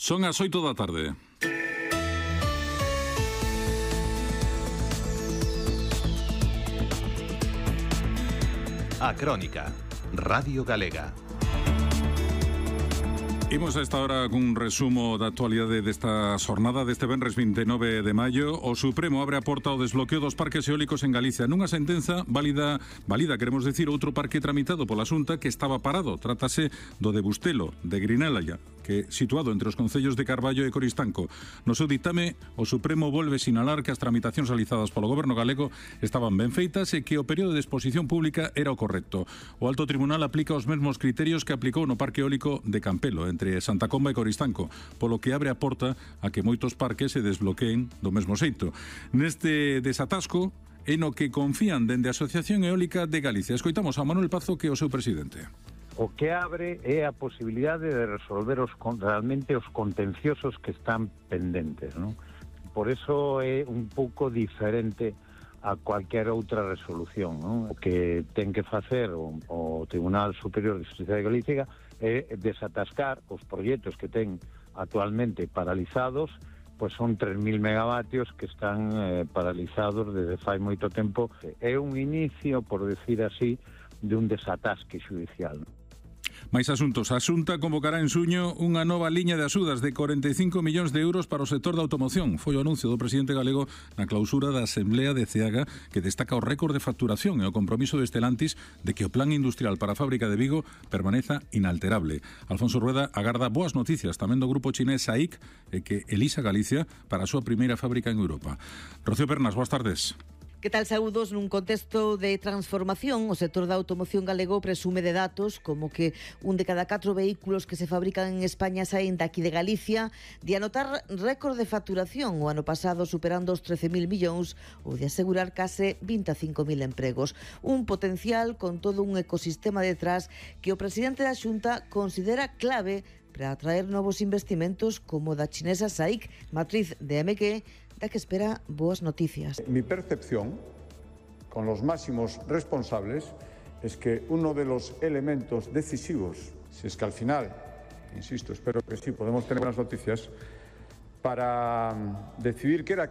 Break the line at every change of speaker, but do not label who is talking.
Son as 8 da tarde.
A Crónica, Radio Galega.
Imos a esta hora cun resumo da actualidade desta xornada deste venres 29 de maio. O Supremo abre a porta ao desbloqueo dos parques eólicos en Galicia nunha sentenza válida, queremos decir, outro parque tramitado pola Xunta que estaba parado. Trátase do de Bustelo, de Grinella, que situado entre os concellos de Carballo e Coristanco. No seu ditame, o Supremo volve sinalar que as tramitacións realizadas polo Goberno galego estaban ben feitas e que o período de exposición pública era o correcto. O Alto Tribunal aplica os mesmos criterios que aplicou no parque eólico de Campelo, entre Santa Comba e Coristanco, polo que abre a porta a que moitos parques se desbloqueen do mesmo xeito. Neste desatasco é no que confían dende a Asociación Eólica de Galicia. Escoitamos a Manuel Pazo, que é o seu presidente.
O que abre é a posibilidade de resolver realmente os contenciosos que están pendentes, non? Por eso é un pouco diferente a cualquier outra resolución, non? O que ten que facer o Tribunal Superior de Xustiza de Galicia é desatascar os proxectos que ten actualmente paralizados, pois son 3.000 megavatios que están paralizados desde fai moito tempo. É un inicio, por decir así, de un desatasque xudicial.
Mais asuntos. A Xunta convocará en suño unha nova liña de axudas de 45 millóns de euros para o sector da automoción. Foi o anuncio do presidente galego na clausura da Asamblea de Ceaga, que destaca o récord de facturación e o compromiso de Stellantis de que o plan industrial para a fábrica de Vigo permaneza inalterable. Alfonso Rueda agarda boas noticias tamén do grupo chinés SAIC e que elisa Galicia para a súa primeira fábrica en Europa. Rocío Pernas, boas tardes.
Que tal, saúdos? Nun contexto de transformación, o sector da automoción galego presume de datos como que un de cada 4 vehículos que se fabrican en España saen daqui de Galicia, de anotar récord de facturación o ano pasado superando os 13.000 millóns ou de asegurar case 25.000 empregos. Un potencial con todo un ecosistema detrás que o presidente da Xunta considera clave para atraer novos investimentos como da chinesa SAIC, matriz de MG, da que espera boas noticias.
Mi percepción, con los máximos responsables, es que uno de los elementos decisivos, si es que al final, insisto, espero que sí, podemos tener buenas noticias, para decidir qué era